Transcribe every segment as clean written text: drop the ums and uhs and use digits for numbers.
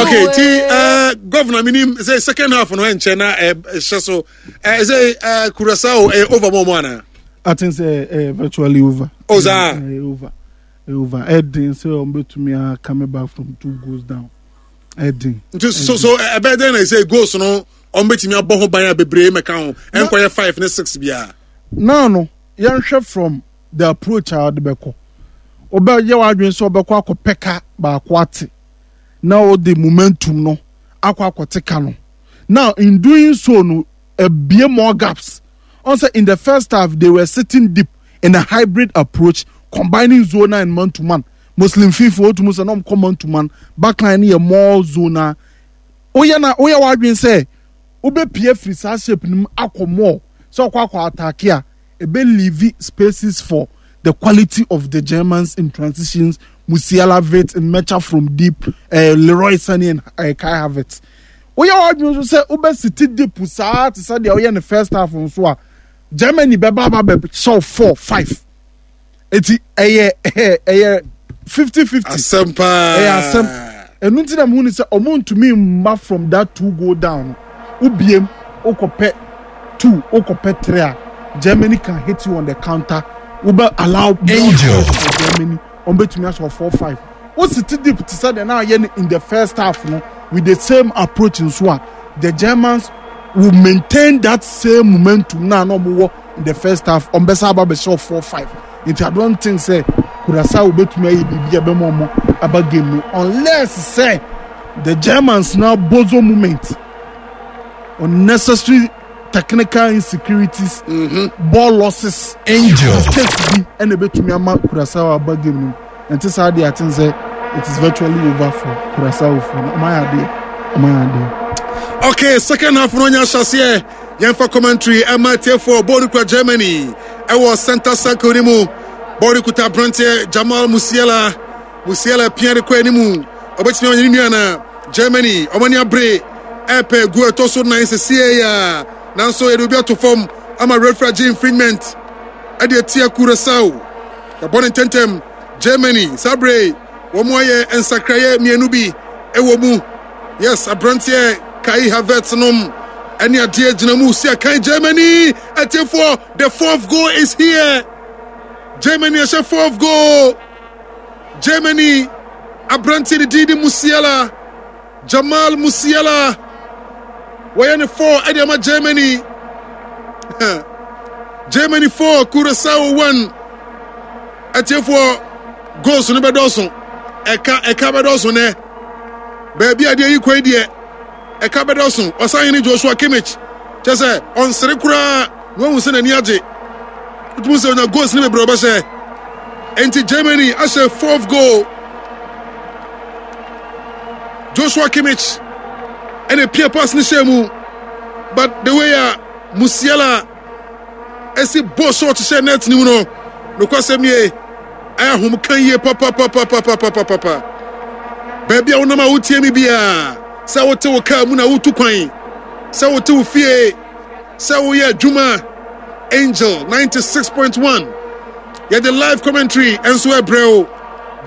Okay, ti governor minim sɛ second half no ɛnkyɛ na ɛhyɛ so sɛ Curacao ɛyɛ over mɔ mɔ ana. I think sɛ virtually over. Oh saa. Over over ɛden sɛ wɔn bɛtumi a coming back from two goals down ɛden. Nti so so ɛbɛyɛ dɛn na ɛsɛ goals no wɔn bɛtumi abɔ ho ban a bebree mɛka ho ɛnkɔyɛ 5 ne 6 biara. Now no yɛnhwɛ from the approach a ɔde bɛkɔ, wobɛyɛ w'adwene sɛ ɔbɛkɔ akɔpɛ ka baako ate na ɔde momentum no akɔ akɔte ka no. Now in doing so no, ebie more gaps on say in the first half they were sitting deep in a hybrid approach combining zona and man to man. Muslim fifa otum sɛ na ɔmo man to man, backline no yɛ more zona. Woyɛ na woyɛ w'adwene sɛ wobɛpie firi saa shape no mu akɔ more sɛ ɔkɔ akɔ attack a, ebe leave spaces for the quality of the Germans in transitions, Musiala, Wirtz, Nmecha from deep, Leroy Sané and Kai Havertz. Woyɛ w'adwene nso sɛ wobɛsiti deep saa te sɛ deɛ woyɛ ne first half nso a, Germany bɛba aba bɛhyɛw 4-5. Eti ɛyɛ 50-50. Asɛm paa. Ɛyɛ asɛm. Ɛnu nti na muhu ni sɛ ɔmo ntumi mma from that two goal down no. Wobiem wokɔpɛ two, wokɔpɛ three a, Germany can hit you on the counter. Wobɛ allow more space for Germany. Ɔmo betumi ahyɛ 4-5. Wositi deep te sɛ deɛ na ayɛ no in the first half no with the same approach nso a, the Germans will maintain that same momentum na na ɔmo wɔ in the first half. Ɔmo bɛsa aba bɛhyɛ 4-5. Nti I don't think sɛ Curacao betumi ayɛ biribi a ɛbɛma ɔmo aba game no unless sɛ the Germans na bozo moment, unnecessary technical insecurities, ball losses, Angel. Mistakes bi ɛna ebetumi ama Curacao aba game no mu. Nti saa deɛ, I think sɛ it is virtually over for Curacao for no. Ɔmo ayɛ adeɛ, ɔmo ayɛ adeɛ. Okay, second half no nya ahyɛseɛ. Yɛmfa commentary ɛma tiefoɔ. Bɔɔl kura Germany ɛwɔ center circle no mu. Bɔɔl kuta aberanteɛ Jamal Musiala. Musiala pia de kɔ anim, ɔbɛtumi ɔnyɛ ne nua na Germany ɔmo ani abere ɛpɛ gu ɛtɔ so nan sesie ya, nanso yɛde obi ato fam ama referee agye infringement ɛde atia Curacao. Yɛbɔ ne ntɛntɛm. Germany saa bere wɔn ayɛ nsakraeɛ mmienu bi ɛwɔ mu. Yes, aberanteɛ Kai Havertz nom ɛne adeɛ gyina mu si akan. Germany atiefoɔ, the fourth goal is here. Germany ɛhyɛ fourth goal. Germany aberanteɛ ne din de Musiala, Jamal Musiala, wɔyɛ ne four ɛde ama Germany. Germany 4, Curacao 1. Atiefoɔ, goals no bɛdɔɔso, ɛka ɛka bɛdɔɔso nɛ baabi a adeɛ yi kwan deɛ ɛka bɛdɔɔso. Ɔsahene Joshua Kimmich kyɛ sɛ ɔnsere koraa na wahu sɛ n'ani agye. Wotumi sɛ onya goals no bebree ɔbɛhyɛ. Enti Germany ahyɛ fourth goal. Joshua Kimmich ɛna pia pass no hyɛ mu, but the way a Musiala ɛsi bɔ shot hyɛ net no mu no, nokwasɛm nie, ɛyɛ ahomka yie papapapapapapapa. Baabi a wonam a wotie me biara, sɛ wote wo kaa mu na wotu kwan, sɛ wote wo fie, sɛ woyɛ adwuma, Angel 96.1 yɛde live commentary nso ɛbrɛ o.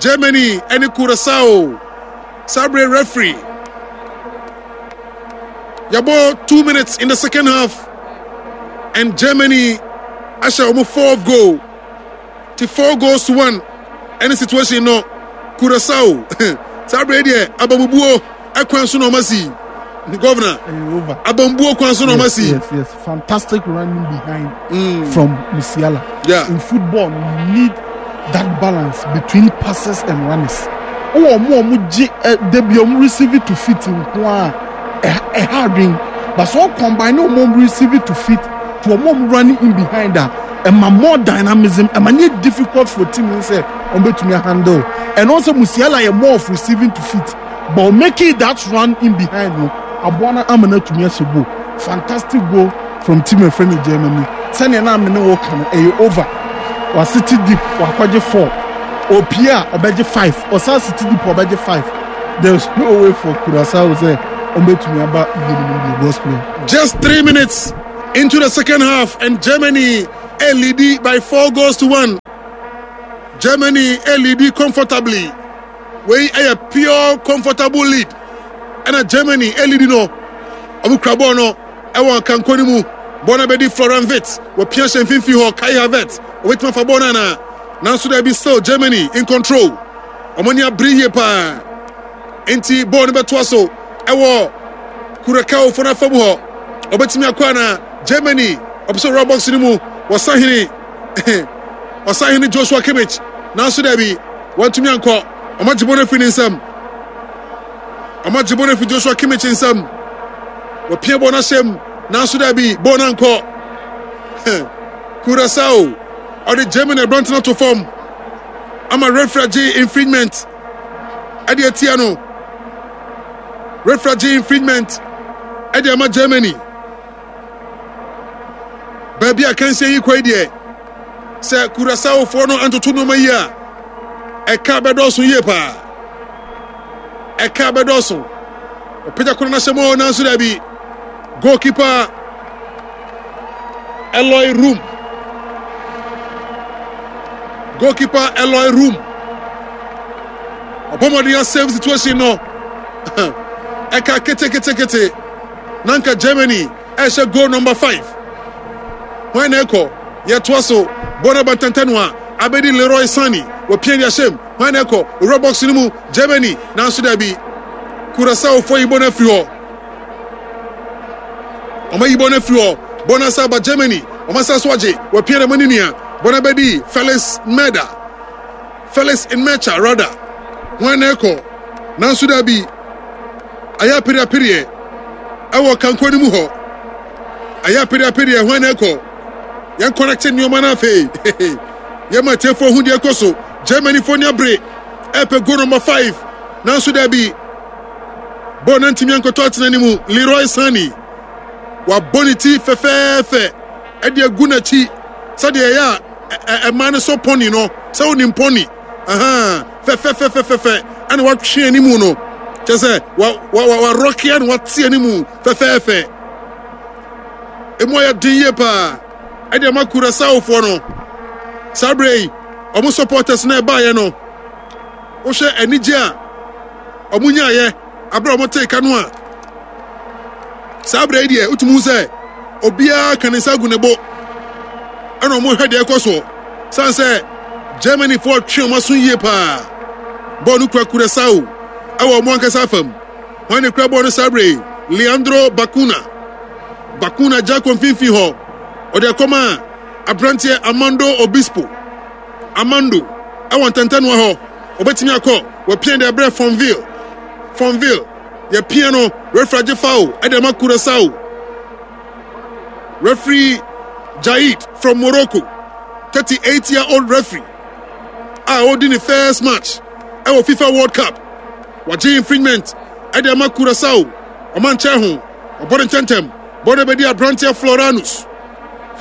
Germany ɛne Curacao. Saa bere referee yɛbɔ 2 minutes in the second half and Germany ahyɛ wɔn fourth goal ti 4 goals to 1. Ɛne situation no, Curacao saa bere deɛ abamubuo ɛkwan so na ɔma si. Governor, abambuo kwan so na ɔma si. Yes, fantastic running behind from Musiala. In football you need that balance between passes and runners. Wowɔ ɔmo a ɔmo gye ɛ debi ɔmo receive it to feet nko a, ɛha adwen, but sɛ ɔcombine ɔmo ɔmo receive it to feet to ɔmo ɔmo running in behind a, ɛma more dynamism, ɛma ne yɛ difficult for team no sɛ ɔmo betumi handle. Ɛno sɛ Musiala yɛ more of receiving to feet, but making that run in behind no aboa no ama no atumi ahyɛ goal. Fantastic goal from team efrɛ no Germany. Sɛnea na amene wɔ ka no, ɛyɛ over. Wasiti deep, wakɔgye four, opie a ɔbɛgye five, ɔsan siti deep, ɔbɛgye five. There is no way for Curacao sɛ ɔmbɛtumi aba game no bi gospel. Just 3 minutes into the second half and Germany a lead by 4 goals to 1. Germany a lead comfortably. Wei ɛyɛ pure comfortable lead. ɛna Germany ɛlidi no. Ɔmo kura bɔɔl no ɛwɔ nkanko no mu. Bɔɔl no abɛdi Florian Wirtz. Wɔpia hyɛ mfimfini hɔ. Kai Havertz obetumi afa bɔɔl no anaa? Nanso daabi, still Germany in control. Wɔn ani abere yie paa. Nti bɔɔl no bɛtoa so ɛwɔ Curacao fo no afa mu hɔ. Ɔbɛtumi akɔ anaa? Germany ɔpɛ sɛ ɔwura box no mu. Wɔsahene ɔsahene Joshua Kimmich. Nanso daabi, wɔntumi ankɔ. Wɔn agye bɔɔl no afiri ne nsam. Wɔn agye bɔɔl no afiri Joshua Kimmich nsam. Wɔpia bɔɔl no ahyɛ mu. Nanso daabi, bɔɔl no ankɔ. Curacao ɔde Germany aberante no ato fam ama referee agye infringement ɛde atia no. Referee agye infringement ɛde ama Germany. Baabi a kansie yi kɔ yi deɛ, sɛ Curaçaofoɔ no antoto nneɛma yi a, ɛka bɛdɔɔso yie paa. Ɛka bɛdɔɔso. Ɔpagya koro no ahyɛ mu nanso daabi. Goalkeeper Eloy Room. Goalkeeper Eloy Room. Ɔbɔ mmɔden asave situation no. Ɛka ketekete. Na nka Germany ɛhyɛ goal number 5. Hwan na ɛkɔ? Yɛtoa so. Bɔ no abantɛntɛ no a abɛdi Leroy Sane. Wɔpia de ahyɛm. Hwan na ɛkɔ? Owura box no mu. Germany. Nanso dabi. Curaçaofoɔ yi bɔ no afiri hɔ. Wɔn ayi bɔ no afiri hɔ. Bɔ no asa aba Germany. Wɔn asa so agye. Wɔapia de ama ne nua. Bɔ no abɛdi Felix Meda. Felix Nmecha rather. Hwan na ɛkɔ? Nanso dabi. Ayɛ apereapereɛ ɛwɔ kanko no mu hɔ. Ayɛ apereapereɛ. Hwan na ɛkɔ? Yɛn kɔnɛkte nneɛma no afei. Yɛma atiefoɔ ho deɛ ɛkɔ so. Germany foɔ ni abere. Ɛpɛ goal number 5. Nanso dabi. Bɔɔl no antumi ankɔtɔ atena ne mu. Leroy Sane wabɔ ne ti fɛfɛɛfɛ ɛde agu n'akyi sɛdeɛ ɛyɛ a ɛma no sɔ pɔni no, sɛ wonim pɔni fɛfɛfɛfɛfɛ ɛna watwe anim no, kyɛ sɛ warɔke ɛna wate anim fɛfɛɛfɛ. Emu ayɛ den yie paa ɛde ama Curaçaofoɔ no. Saa berɛ yi wɔn supporters na ɛbaeɛ no, wohwɛ anigye a wɔn nyaeɛ abere a wɔn tee ka no a, saa abere yi deɛ wotumi hu sɛ obiara ka ne nsa agu ne bo ɛna wɔn hwɛ deɛ ɛkɔ soɔ san sɛ Germany foɔ twe wɔn aso yie paa. Bɔɔl no kura Curaçao ɛwɔ wɔn ankasa afam. Wɔn ne kura bɔɔl no saa abere yi, Leandro Bacuna. Bacuna gya kɔ mfimfini hɔ, ɔde akɔma aberanteɛ Amando Obispo. Amando ɛwɔ ntɛntɛnoa hɔ, ɔbɛtumi akɔ. Wɔpia de abrɛ Fonville. Fonville yɛpia no, referee agye foul ɛde ama Curaçao. Referee Jaid from Morocco, 38 year old referee a ɔredi ne first match ɛwɔ FIFA World Cup. Wagye infringement ɛde ama Curaçao. Ɔma nkyɛn ho, ɔbɔ ne ntɛntɛm. Bɔɔl no bɛdi aberanteɛ Floranus.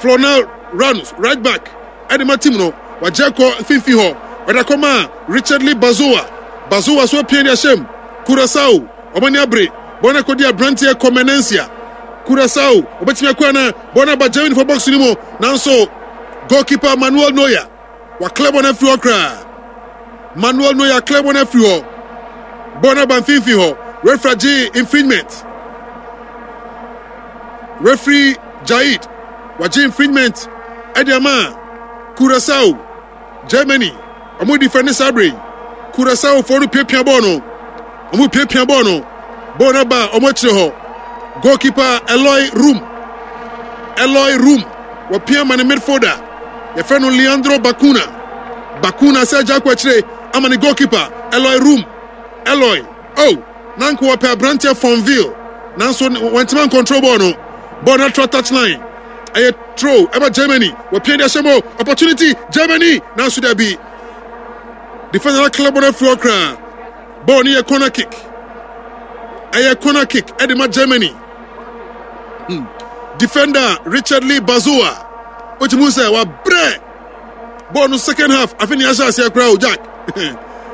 Floranus right back ɛde ma team no. Wagye akɔ mfimfini hɔ, ɔde akɔma Richardly Bazoa. Bazoa so apia de ahyɛm. Curaçao, wɔn ani abere. Bɔɔl no akɔdi aberanteɛ Comenencia. Curaçao, wɔbɛtumi akɔ ana? Bɔɔl no aba Germany fo box no mu, nanso goalkeeper Manuel Neuer waklɛ bɔɔl no afiri hɔ koraa. Manuel Neuer klɛ bɔɔl no afiri hɔ. Bɔɔl no aba mfimfini hɔ. Referee agye infringement. Referee Jaid wagye infringement ɛde ama Curaçao. Germany wɔn defend saa bere yi. Curaçao foɔ no piapia bɔɔl no. Wɔn piapia bɔɔl no. Bɔɔl no aba wɔn akyire hɔ. Goalkeeper Eloy Room. Eloy Room wɔpia ma ne midfielder. Yɛfrɛ no Leandro Bacuna. Bacuna sɛ agya akɔ akyire ama ne goalkeeper Eloy Room. Eloy, oh, na nka wɔpɛ aberanteɛ Fonville, nanso wɔntumi ancontrol bɔɔl no. Bɔɔl no atra touchline. Ɛyɛ throw ɛma Germany. Wɔpia de ahyɛ mu. Opportunity Germany, nanso dabi. Defender no clear bɔɔl no afiri hɔ koraa. Bɔɔl no yɛ corner kick. Ɛyɛ corner kick ɛde ma Germany. Defender Richard Lee Bazoa. Wotumi sɛ wabrɛ bɔɔl no second half. Afei ne ahyɛ aseɛ koraa o Jack.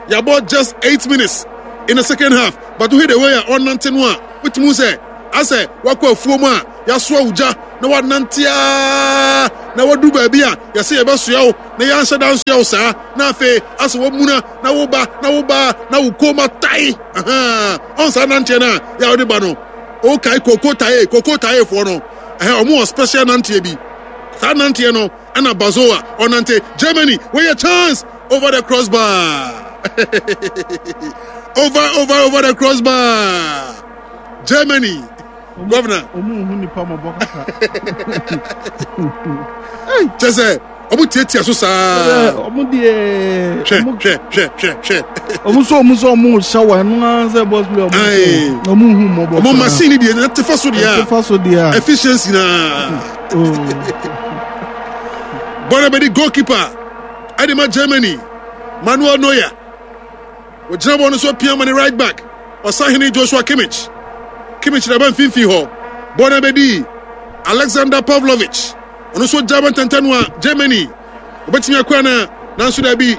Yɛabɔ just 8 minutes in the second half. But wohwɛ the way a ɔnante no a, wotumi sɛ asɛ wakɔ afuo mu a yɛasoa wo gya. na wanante ara na wadu baabi a yɛsɛ yɛbɛsoa wo na yɛanhyɛ da nsoa wo saa na afei asɛ wamuna na woba na woba na wo kɔn mu atae ɔn saa nanteɛ no a yɛ a wode ba no wokae koko tae koko taefoɔ no ɛhɛ ɔmo wɔ special nanteɛ bi saa nanteɛ no ɛna bazoa ɔnante Germany wɔyɛ chance over the crossbar over over over the crossbar Germany governor. Ɔmo nhu nipa mɔbɔ kaka. Kyɛ sɛ ɔmo tiatia so saa. Ɔmo deɛ. Hwɛ hwɛ hwɛ hwɛ hwɛ. Ɔmo sɛ ɔmo sɛ ɔmo hyɛ wɔ ɛno ara sɛ bɔs bi ɔmo sɛ ɔmo nhu mɔbɔ. Ɔmo machine deɛ ɛte fa so deɛ. Ɛte fa so deɛ. Efficiency naa. Bɔɔl bɛ di goalkeeper ɛde ma Germany Manuel Neuer. Ogyina bɔɔl no so apia ma ne right back, ɔsahene Joshua Kimmich. Kimmich na ɛba mfimfini hɔ. Bɔɔl no abɛdi Alexander Pavlovich. Ɔno nso gya bɛntɛntɛn no a Germany. Obetumi akɔ ana? Nanso dabi.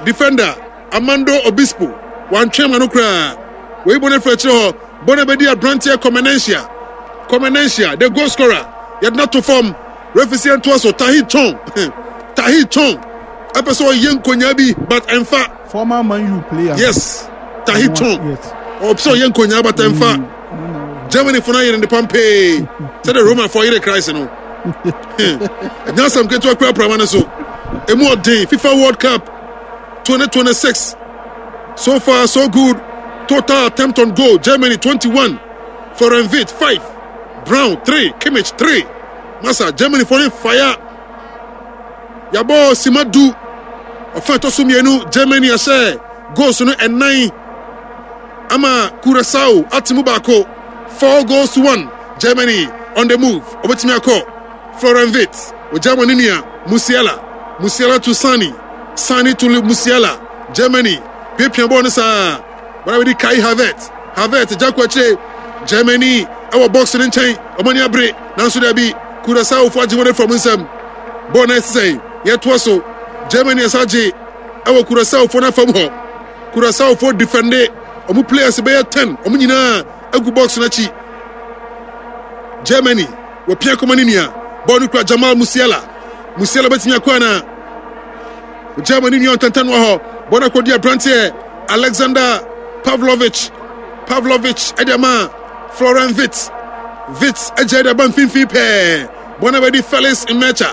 Defender Armando Obispo wantwɛn ma no koraa. Wɔyi bɔɔl no afiri akyire hɔ. Bɔɔl no abɛdi aberanteɛ Comenencia. Comenencia, the goal scorer. Yɛde no ato fam. Referee sɛ yɛntoa so. Tahit Chong. Tahit Chong. Ɛpɛ sɛ ɔyɛ nkonyaa bi but ɛmfa. Former Man U player. Yes, Tahit Chong. Yes. Ɔpɛ sɛ ɔyɛ nkonyaa but ɛmfa. Germany fo no ayere ne pampee sɛdeɛ Roman fo ayere Christ no. Ɛnyɛ asɛm ketewa kura prama no so. Emu ɔden FIFA World Cup 2026. So far so good. Total attempt on goal Germany 21, Florian Wirtz 5, Brown 3, Kimmich 3. Masa Germany fo no fire. Yɛabɔ sima du. Ɔfa ɛtɔ so mmienu, Germany ahyɛ goals no ɛnan ama Curacao ate mu baako. 4 goals to 1. Germany on the move. Obetumi akɔ. Florian Wirtz. Ogya ma ne nua Musiala. Musiala to Sani. Sani to Musiala. Germany piapia bɔɔl no saa. Bɔɔl abɛdi Kai Havertz. Havertz gya kɔ akyire. Germany ɛwɔ box no nkyɛn. Wɔn ani abere. Nanso dabi. Curaçaofo agye wɔn afiri wɔn nsam. Bɔɔl no ɛsesɛe. Yɛtoa so. Germany ɛsa gye ɛwɔ Curaçaofo no afam hɔ. Curaçaofo defende wɔn players bɛyɛ 10. Wɔn nyinaa agu box no akyi. Germany wɔpia kɔma ne nua. Bɔɔl no kura Jamal Musiala. Musiala bɛtumi akɔ anaa? Germany nua ntɛntɛnoa hɔ. Bɔɔl no akɔdi aberanteɛ Alexander Pavlovich. Pavlovich ɛde ama Florian Wirtz. Wirtz agya de aba mfimfini pɛɛ. Bɔɔl no abɛdi Felix Nmecha.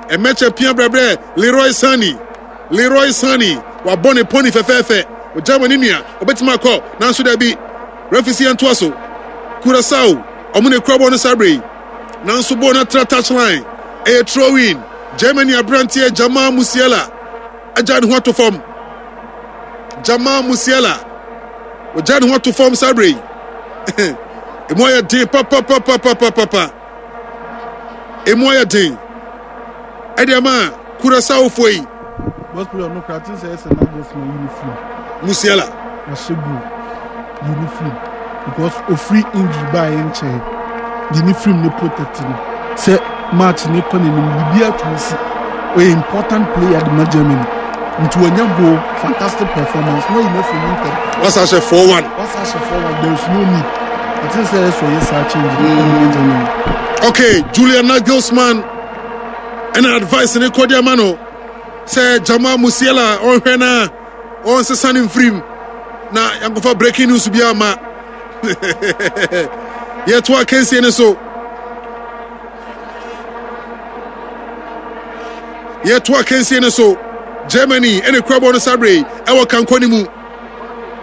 Nmecha pia brɛbrɛ Leroy Sane. Leroy Sane wabɔ ne pɔni fɛfɛɛfɛ. Germany nua obetumi akɔ nanso dabi. Referee si yɛn toa so. Curacao ɔmo na ekura bɔɔl no saa bere yi. Nanso bɔɔl no atra touchline. Ɛyɛ throw-in. Germany aberanteɛ Jamal Musiala agya ne ho ato fam. Jamal Musiala ogya ne ho ato fam saa bere yi. Emu ayɛ den papapapapapapa. Emu ayɛ den. Ɛde ama Curaçaofoɔ yi. Boss player no kura ti sɛ ɛsɛ Nagelsmann yi ne firi. Musiala. Wahyɛ goal yi ne firi because ofiri injury baa yɛ nkyɛn yi ne firi ne protect no sɛ match ne kɔ n'anim biribi atumi si ɔyɛ important player de ma Germany nti wanya goal fantastic performance na ɔyi n'afiri mu ntɛm. Wasa ahyɛ 4-1. Wasa ahyɛ 4-1 there is no need. Ɛte sɛ ɛsɛ ɔyɛ saa change no ɛde ma Germany. Okay, Julian Nagelsmann ɛna advice ne kɔde ama no sɛ Jamal Musiala ɔnhwɛ na ɔnsesa ne mfirim na yankɔfa breaking news bi ama yɛto akansie no so yɛto akansie no so Germany ɛna kura bɔɔl no saa bere ɛwɔ kankɔ no mu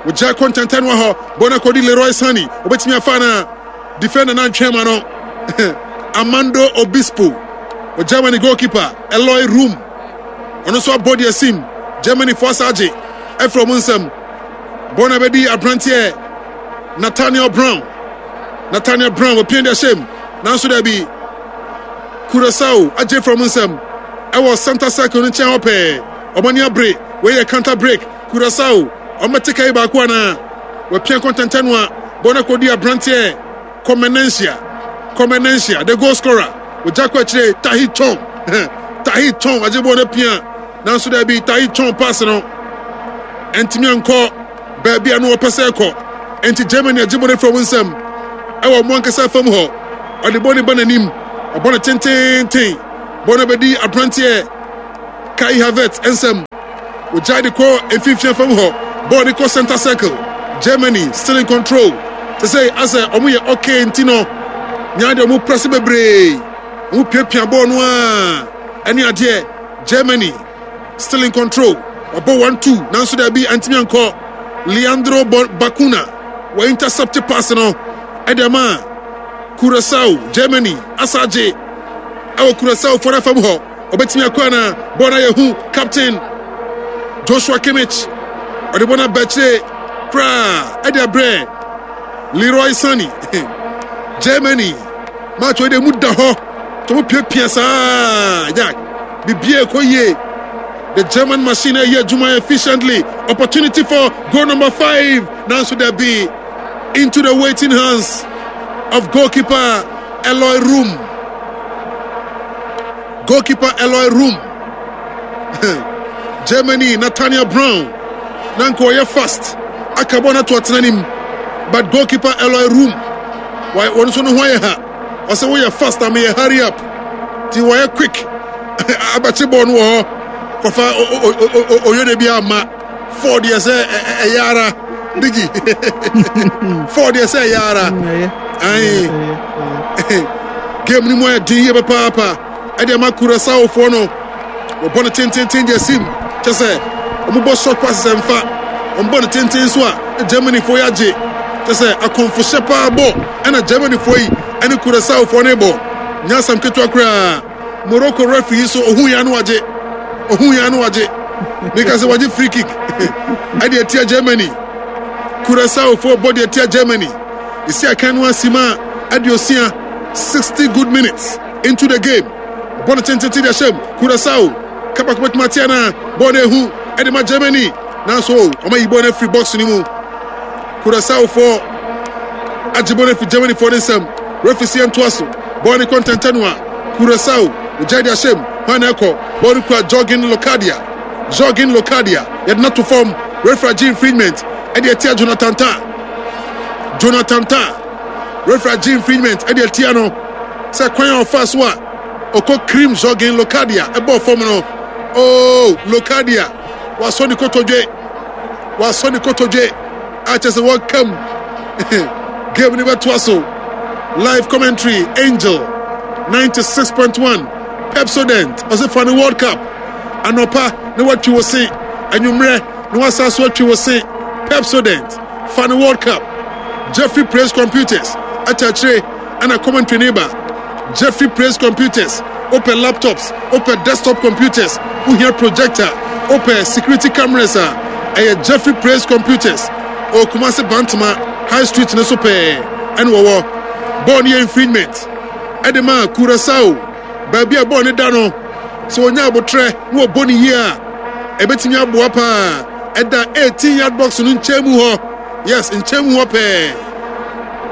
wɔgya kɔ ntɛntɛnoa hɔ bɔɔl no akɔdi Leroy Sane obɛtumi afa no defender no antwɛn ma no Amando Obispo Germany goalkeeper Eloy Room ɔno nso abɔ deɛ sim Germany fo asa agye afiri ɔmo nsam bɔɔl no abɛdi aberanteɛ Nathaniel Brown Nathaniel Brown wɔpia de ahyɛ mu nanso daabi Curacao agye firi ɔmo nsam ɛwɔ center circle no nkyɛn hɔ pɛɛ ɔmo ani abere wei yɛ counter break Curacao ɔmo bɛte ka yi baako anaa wɔpia kɔntɛntɛn no a bɔɔl no akɔdi aberanteɛ Comenencia Comenencia the goal scorer ogya kɔ akyire Tahi Chong Tahi Chong agye bɔɔl no apia nanso daabi Tahi Chong pass no ɛntumi ankɔ baabi a no wɔpɛ sɛ ɛkɔ enti Germany agye bɔɔl no afiri wɔn nsam ɛwɔ wɔn ankasa fam hɔ ɔde bɔɔl no ba n'anim. Ɔbɔ no tententen. Bɔɔl no bɛdi aberanteɛ Kai Havertz nsam. Wɔgyae de kɔ mfimfini fam hɔ. Bɔɔl no kɔ center circle. Germany still in control. Te sɛ asɛ wɔn yɛ okay nti no, nyaa deɛ wɔn press bebree. Wɔn piapia bɔɔl no a ɛne adeɛ. Germany still in control. Wɔbɔ 1-2 nanso daabi antumi ankɔ. Leandro Bacuna wɔ intercept pass no ɛde ama Curacao. Germany asa agye ɛwɔ Curacao fɔra fam hɔ. Ɔbɛtumi akɔ ana? Bɔɔl no ayɛ hu. Captain Joshua Kimmich ɔde bɔɔl no aba akyire koraa ɛde abrɛ Leroy Sane. Germany match wei de mu da hɔ. Tɔmo piapia saa Jack. Bibia ɛkɔ yie. The German machine ɛyɛ adwuma efficiently. Opportunity for goal number 5. Nanso dabi into the waiting hands of goalkeeper Eloy Room. Goalkeeper Eloy Room. Germany Nathaniel Brown. Na nka ɔyɛ fast. Aka bɔ no ato atena nim. But goalkeeper Eloy Room. Wɔn nso no ho ayɛ ha. Ɔsɛ woyɛ fast a meyɛ hurry up. Ti wɔyɛ quick. Abɛkye bɔɔl no wɔ hɔ. Kɔfa oyode bi ama. Ford yɛ sɛ ɛyɛ ara. Biggie. Ford yɛ sɛ ɛyɛ ara. Ayi. Game no mu ayɛ den yie papaapa. Ɛde ama Curaçaofoɔ no. Wɔbɔ no tententen deɛ sim. Kyɛ sɛ wɔbɔ short passes ɛmfa. Wɔbɔ no tenten so a Germanyfoɔ yi agye. Kyɛ sɛ akɔmfohyɛ paa bɔ ɛna Germanyfoɔ yi ɛne Curaçaofoɔ no bɔ. Nyɛ asɛm ketewa koraa. Morocco referee yi so ohun ya no wagye. Ohun ya no wagye. Meka sɛ wagye free kick. Ɛde atia Germany. Curaçaofoɔ bɔ de atia Germany. Esi akan no asi ma aduosia 60 good minutes into the game. Bɔ no tententen de ahyɛm. Curaçao kabako bɛtumi atia na bɔɔl no ehu ɛde ma Germany. Nanso wɔn ayi bɔɔl no afiri box no mu. Curaçaofoɔ agye bɔɔl no afiri Germanyfoɔ no nsam. Referee si yɛntoa so. Bɔɔl no kɔ ntɛntɛn a Curaçao ogyae de ahyɛm. Hwan na ɛkɔ? Bɔɔl no kura Jorgen Locadia. Jorgen Locadia yɛde no ato fam. Referee agye infringement ɛde atia Jonathan Tah. Jonathan Tah. Referee agye infringement ɛde atia no sɛ kwan a ɔfa so a ɔkɔ cream Jorgen Locadia ɛbɔɔ fam no. Oh, Locadia wasɔ ne kotodwe. Wasɔ ne kotodwe a kyerɛ sɛ wɔka mu. Game no bɛtoa so. Live commentary Angel 96.1 Pepsodent ɔsɛ fa ne World Cup anɔpa na watwi wo se anwummerɛ na wasa so atwi wo se Pepsodent fa ne World Cup Jeffrey Praise Computers akyerɛkyerɛ ɛna commentary ne ba Jeffrey Praise Computers wopɛ laptops wopɛ desktop computers wohia projector wopɛ security cameras a ɛyɛ Jeffrey Praise Computers wɔ Kumasi Bantama High Street no so pɛɛ ɛna wɔwɔ. Bɔɔl no yɛ infringement ɛde ma Curaçao baabi a bɔɔl no da no sɛ wɔnya abotrɛ na wɔbɔ no yie a ɛbɛtumi aboa paa. Ɛda 18 yard box no nkyɛn mu hɔ. Yes, nkyɛn mu hɔ pɛɛ.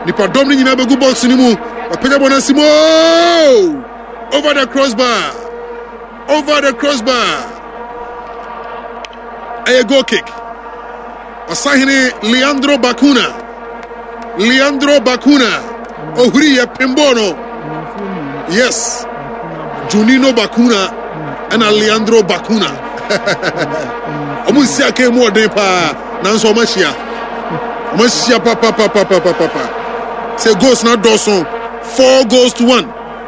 Nipadɔm no nyinaa bɛgu box no mu. Wapagya bɔɔl no asi mu. Oh! Over the crossbar. Over the crossbar. Ɛyɛ goal kick. Ɔsahene Leandro Bacuna. Leandro Bacuna. Ohuri yɛ pinball no. Yes. Junino Bacuna ɛna Leandro Bacuna. Ɔmo nsi akan mu ɔden paa nanso ɔmo ahyia. Ɔmo ahyia papapapapapapa. Sɛ goals na dɔɔso 4 goals to 1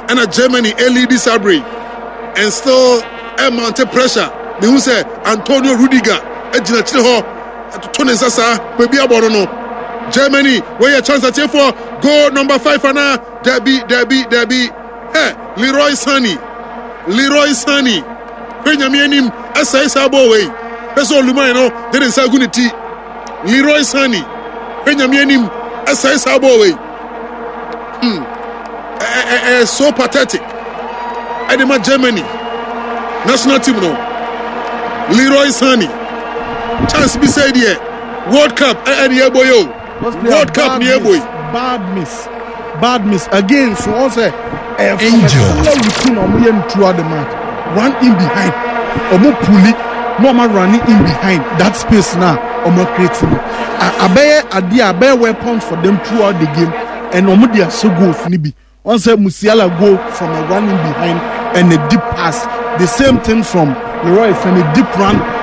ɛna Germany elidi sabre and still ɛmante pressure. Mehu sɛ Antonio Rudiger gyina akyire hɔ to ne nsa saa baabi abɔ no no. Germany wɔyɛ chance atiefoɔ goal number 5 anaa dabi dabi dabi hɛ Leroy Sane Leroy Sane hwɛ nyame anim ɛsɛe saa bɔɔl wei hwɛ sɛ oluman no de ne nsa agu ne ti Leroy Sane hwɛ nyame anim ɛsɛe saa bɔɔl wei ɛɛ so pathetic ɛde ma Germany national team no Leroy Sane chance bi sɛ deɛ World Cup ɛne ɛbɔ yɛ o World Cup ni ɛbɔ yi. Bad miss bad miss again so ɔn sɛ ɛyɛ from a similar routine a wɔyɛ no throughout the match run in behind wɔn puli na wɔn running in behind that space na wɔn create no abɛyɛ adeɛ abɛyɛ weapons for them throughout the game and wɔn de ahyɛ goals ni bi. Wɔn sɛ Musiala go from a running behind and a deep pass. The same thing from Leroy Sane, deep run.